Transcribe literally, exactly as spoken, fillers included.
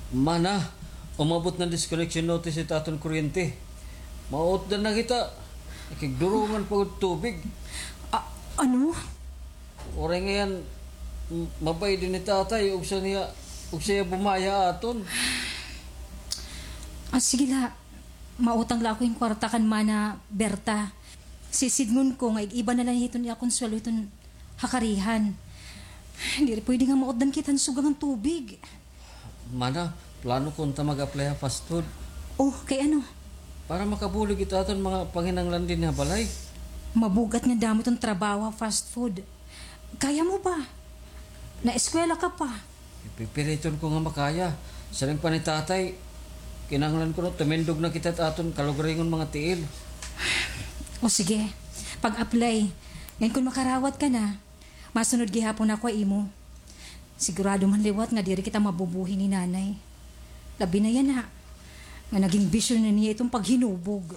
Mana, umabot na disconnection notice it aton kuryente. Mautdan na kita. Nakigdurungan pa gud tubig. A-, ano? Uray ngay-an, m-, mabayad ini hi tatay, ugsa niya, ugsa niya bumaya aton. Ah, sige la. Mautang la ako hin kwarta kan Mana Berta. Sisidngon ko nga ig-iba na la hiton iya kon sweldo hiton ha karihan. Diri pwede nga mautdan kita hin suga ngan tubig. Mana, plano ko unta mag-apply ha fast food. Oh, kay ano? Para makabulig it aton mga panginahanglan dinhi ha balay. Mabug-at nga damo iton trabaho ha fast food. Kaya mo ba? Naeskwela ka pa. Pipiliton ko nga makaya. Siring pa ni tatay, kinahanglan kuno tumindog na kita ha aton kalugaringon mga tiil. O sige, pag-apply. Ngan kon makarawat ka na, masunod gihapon ako ha imo. Sigurado man liwat nga diri kita mabubuhi ni Nanay. Labi na yana nga naging bisyo na niya iton paghinubog.